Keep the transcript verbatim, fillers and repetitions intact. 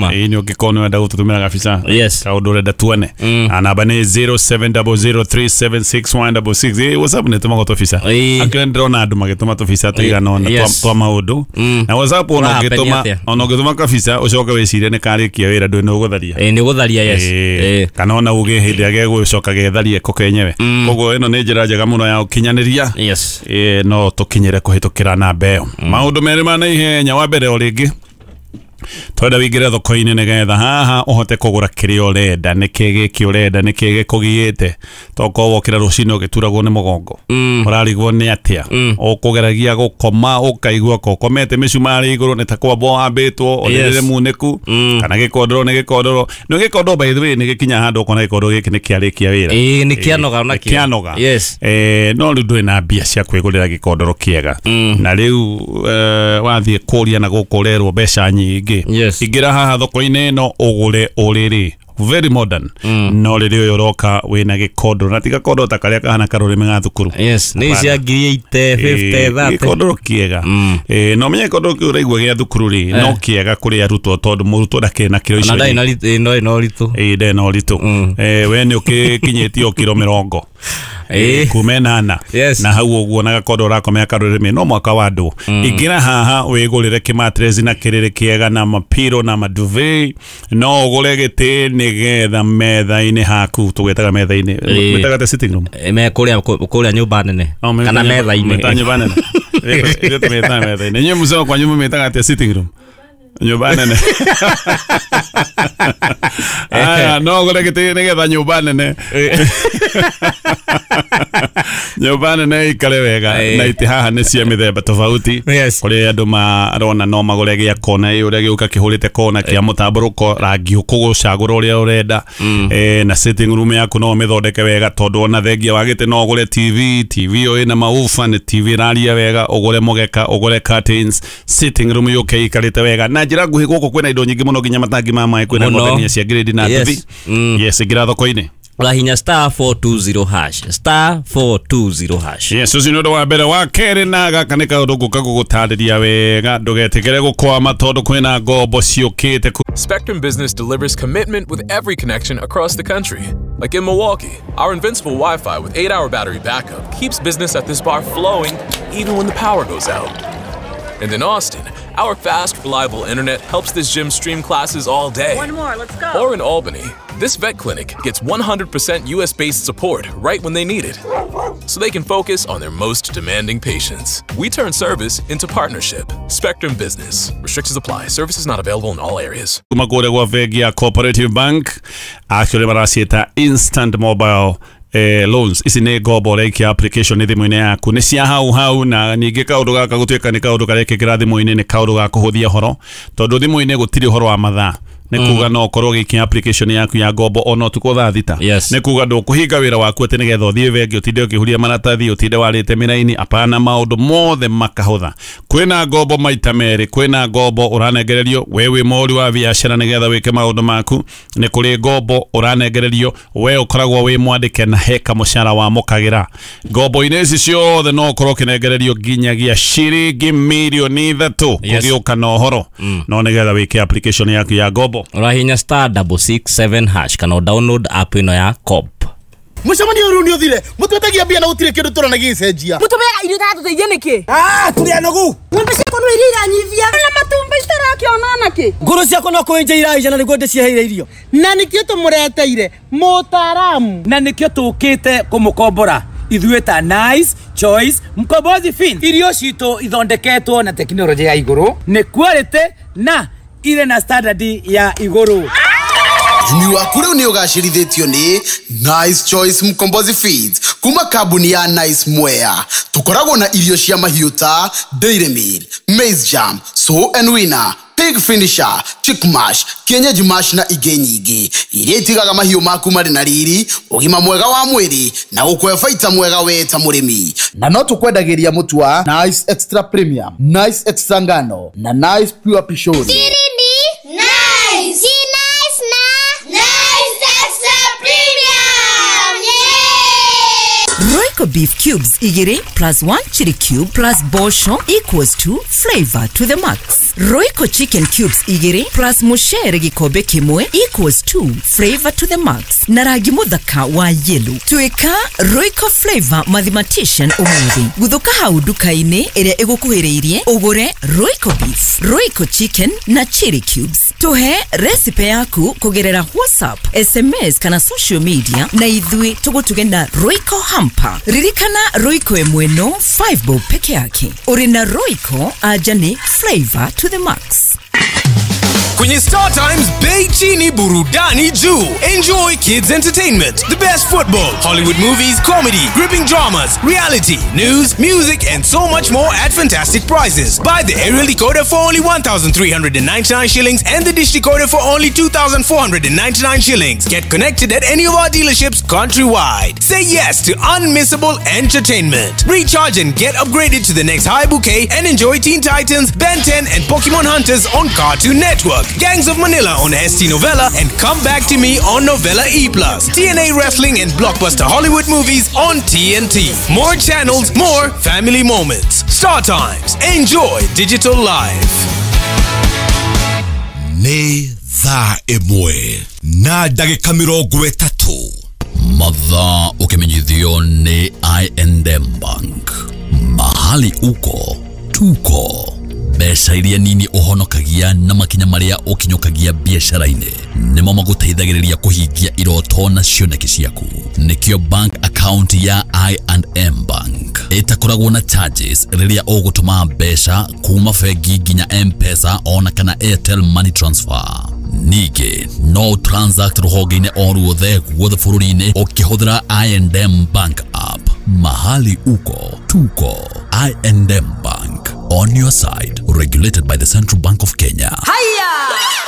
Ũngĩtũma. Ĩĩ, nĩ ũngĩkorwo nĩ wenda gũtũtũmĩra gabica, Yes. kaũndũ ũrenda tuone, na namba nĩ zero seven double zero three seven six one double six. Ĩĩ, WhatsApp nĩ ĩtũmagwo tũbica. Ĩĩ. Akĩrĩ ndĩrona andũ magĩtũma tũbica tũigana ũna Yes. twa maũndũ na WhatsApp, ona Ũrahappen ũngĩtũma atĩa? ona ũngĩtũma kabica ũcoke wĩcirie nĩ karĩkia wĩra, ndũĩ nĩ ũgũtharia. Ĩĩ, nĩ ũgũtharia, yes. Ĩĩ, Ĩĩ. kana ona uge hĩndĩ ĩrĩa gegũcoka getharie ko kenyewe. Koguo ĩno nĩ njĩra njega mũno ya ũkinyanĩria. Yes. Ĩĩ, no tũkinyĩre kũhĩtũkĩra namba ĩyo. Maũndũ merĩ ma naihenya. Wa mbere, o rĩngĩ twenda wĩingĩre thoko-inĩ nĩgetha haha ũhote kũgũra kĩrĩa ũrenda. Nĩkĩ gĩkĩ ũrenda? Nĩkĩ gĩkũgiĩte? Tokorwo wokĩra rũcinĩ ũgĩturagwo nĩ mũgongo, ũrarigwo nĩ atĩa, ũkũgeragia gũkoma ũkaigua ko ũkomete mĩcumarĩ igũrũ, nĩ ta kwambwo wambĩtwo ũrĩrĩ Yes. munĩku, kana gĩkondoro nĩ gĩkondoro nĩ gĩkondoro. By the way, nĩ gĩkinya handũ ũkona gĩkondoro gĩkĩ nĩ kĩarĩkia wĩra. Ĩĩ, nĩ kĩanoga onakĩo. Kĩanoga. Yes. Eh, no rĩu ndũrĩ na mbia cia kwĩgũrĩra gĩkondoro kĩega, na rĩu eh, wathiĩ kũria na gũkũ ũrerwo mbeca nyingĩ. Yes. Ingĩra haha thoko-inĩ ĩno ũgũre ũrĩrĩ very modern, no rĩrĩ ũyũ ũroka wĩna gĩkondoro, na ti gakondoro ta karĩa kahana karũrĩmĩ ga thukuru. Yes, nĩ cia ngiri eighty, fifty, thirty. Gĩkondoro kĩega. Eh, no menye gĩkondoro kĩu ũraigua gĩa thukuru rĩ, no kĩega kũrĩ arutwo, tondũ mũrutwo ndakĩrĩ na kĩro Ona icio. ndarĩ na ritũ, ĩĩ, no ritũ. Ĩĩ, ndarĩ na ũritũ. Eh, we nĩ ũkĩkinyĩtie o kiro mĩrongo Ĩĩ. kuma ĩnana Yes. na hau ũguo, na gakondo ũrakomea karũrĩmĩ no mwaka wa andũ. Ingĩra haha wĩgũrĩre kĩmatrezi na kĩrĩrĩ kĩega na mapiro na maduvet, no ũgũre gĩtĩ nĩgetha metha-inĩ haku, tũgwĩtaga metha-inĩ, Ĩĩ. mwĩtaga te sitting room. Ĩ, me kũrĩa kũrĩa nyũmba nene Oh, kana mĩtaga metha-inĩ. Mĩtaga nyũmba nene. Ithuĩ tũmĩtaga metha-inĩ. Inyuĩ mũceo kwanyu mũmĩtaga atĩa? Sitting room, nyũmba nene. Aya, no ũgũre gĩtĩ nĩgetha nyũmba nene nyũmba nene ikare wega. Ĩĩ. Na itĩ haha nĩ cia mĩthemba tofauti. Yes. Kũrĩ andũ marona no magũre gĩa kona ĩ ũrĩa gĩũka kĩhũrĩte kona kĩa mũtambũrũko, rangi ũkũgũcagũra ũrĩa ũrenda. Eh, na sitting room yaku no ũmĩthondeke wega, tondũ ona thengia wa gĩtĩ no ũgũre T V. T V ĩyo ĩna maufa, nĩ T V ĩraria wega, ũgũre mũgeka, ũgũre curtains, sitting room yũke ĩikarĩte wega. Na njĩra nguhĩ, gũkũ kwĩna indo nyingĩ mũno, nginya matangi ma maĩ, kwĩna Mũno. ngothania cia grade na Yes. nduthi. Mm. Yes, ingĩra thoko-inĩ. Ũrahinya star four two zero hash, star four two zero hash. Yes, ũcio nĩ ũndũ wa mbere. Wa kerĩ, na gaka nĩ kaũndũ ngũka gũgũtarĩria wega, ndũgetĩkĩre gũkwama, tondũ kwĩna ngombo ciũkĩte ku- Spectrum Business delivers commitment with every connection across the country. Like in Milwaukee, our invincible Wi Fi with eight hour battery backup keeps business at this bar flowing even when the power goes out. And in Austin, our fast, reliable internet helps this gym stream classes all day. One more, let's go. Or in Albany, this vet clinic gets one hundred percent U S based support right when they need it, so they can focus on their most demanding patients. We turn service into partnership. Spectrum Business. Restrictions apply. Services not available in all areas. Kuma kũrĩa gwa bengi ya Cooperative Bank, actually maraciĩta instant mobile eh, loans. Ici nĩ ngombo ũraikia application nĩ thimũ-inĩ yaku, nĩ cia hau hau. Na ningĩ kaũndũ gaka gũtuĩka nĩ kaũndũ karekĩkĩra thimũ-inĩ, nĩ kaũndũ ga kũhũthia ũhoro, tondũ thimũ-inĩ gũtirĩ ũhoro wa mathaa. Nĩ kuga no ũkorwo ũgĩikia application yaku ya ngombo ona ũtukũ thaa thita. Yes. Nĩ kuga ndũkũhinga wĩra waku atĩ nĩgetha ũthiĩ bengi, ũtinde ũkĩhuria maratathi, ũtinde warĩte mĩraini. Apana, maũndũ mothe makahũtha. Kwĩna ngombo maita merĩ. Kwĩna ngombo ũranengererio we wĩ mũhũri wa biacara nĩgetha wĩke maũndũ maku. Nĩ kũrĩ ngombo ũranengererio we ũkoragwo wĩ mwandĩke na he kamũcara wamũkagĩra. Ngombo-inĩ ici ciothe no ũkorwo ũkĩnengererio nginyagia ciringi mirioni ithatũ. Yes. Kũgĩũka na ũhoro no nĩgetha wĩke application yaku ya ngombo. Ũrahinya star double six seven hash kana download app ĩno ya Co-op. Mũcemanio rĩu nĩ ũthire, mũtwetagia mbia na gũtirĩ kĩndũ tũrona gĩgĩcenjia. Mũtũmeaga irio itatũteithia nĩkĩ? Ah, tũrĩ anogu. Ng'ombe ciakwa no iria iranyivia na matumbĩ itarakĩona nakĩ. Ngũrũ ciakwa no kũenja iraica na nĩguo ndĩciheire irio. Na nĩkĩo tũmũreteire mũtaaramu. Na nĩkĩo tũkĩte kũmũkombora ithuĩ ta Nice Choice Mkombozi Fin. Irio citũ ithondeketwo na tekinoronjĩ ya igũrũ, nĩ quality na irĩ na standard ya igũrũ. Ũrĩmi waku rĩu nĩ ũgacĩrithĩtio nĩ Nice Choice Mkombozi Feeds kuma kambuni ya Nice Mwea. Tũkoragwo na irio cia mahiũ ta Dairy Meal, Maize Jam, Sow and Winner, Pig Finisher, Chick Mash, Kienyeji Mash na ingĩ nyingĩ iria itigaga mahiũ maku marĩ na riri, ũgima mwega wa mwĩrĩ na gũkũhe baita mwega we ta mũrĩmi. Na no tũkwendagĩria mũtu wa Nice Extra Premium, Nice Extra Ngano na Nice Pure Pishori. Siri ni nice. Si nice na Nice Extra Premium. Yeah. Royco beef cubes igiri plus one chili cube plus bosho equals to flavor to the max. Royco chicken cubes igĩrĩ plus mũcere gĩkombe kĩmwe equals two flavor to the max na rangi mũthaka wa yellow. Tuĩka Royco flavor mathematician ũmũthĩ. Gũthũka hau nduka-inĩ ĩrĩa ĩgũkuhĩrĩirie ũgũre Royco beef, Royco chicken na chili cubes. Tũhe recipe yaku kũgerera WhatsApp, S M S kana social media na ithuĩ tũgũtuge na Royco hamper. Ririkana, Royco ĩmwe no five bob peke yake. Ũrĩ na Royco anja nĩ flavor to the max. Kwenye Star Times, bei chini, burudani juu. Enjoy kids entertainment, the best football, Hollywood movies, comedy, gripping dramas, reality, news, music, and so much more at fantastic prices. Buy the aerial decoder for only one thousand three hundred ninety-nine shillings and the dish decoder for only two thousand four hundred ninety-nine shillings. Get connected at any of our dealerships countrywide. Say yes to unmissable entertainment. Recharge and get upgraded to the next high bouquet and enjoy Teen Titans, Ben ten, and Pokemon Hunters on Cartoon Network, Gangs of Manila on S T Novella, and Come Back to Me on Novella E plus. T N A Wrestling and blockbuster Hollywood movies on T N T. More channels, more family moments. Star Times. Enjoy digital life. Nĩ thaa ĩmwe na ndagĩka mĩrongo ĩtatũ. Mathaa ũkĩmenyithio nĩ I and M Bank. Mahali uko tuko. Mbeca iria nini ũhonokagia na makinya marĩa ũkinyũkagia biacara-inĩ nĩmo magũteithagĩrĩria kũhingia iroto na cioneki ciaku. Nĩkĩo bank account ya I and M Bank ĩtakoragwo na charges rĩrĩa ũgũtũma mbeca kuma bengi nginya M-Pesa ona kana Airtel Money Transfer. Ningĩ no transact rũhonge-inĩ o ruothe guothe bũrũri-inĩ ũkĩhũthĩra I and M Bank app. Mahali uko tuko. I and M Bank, on your side. Regulated by the Central Bank of Kenya. Haya.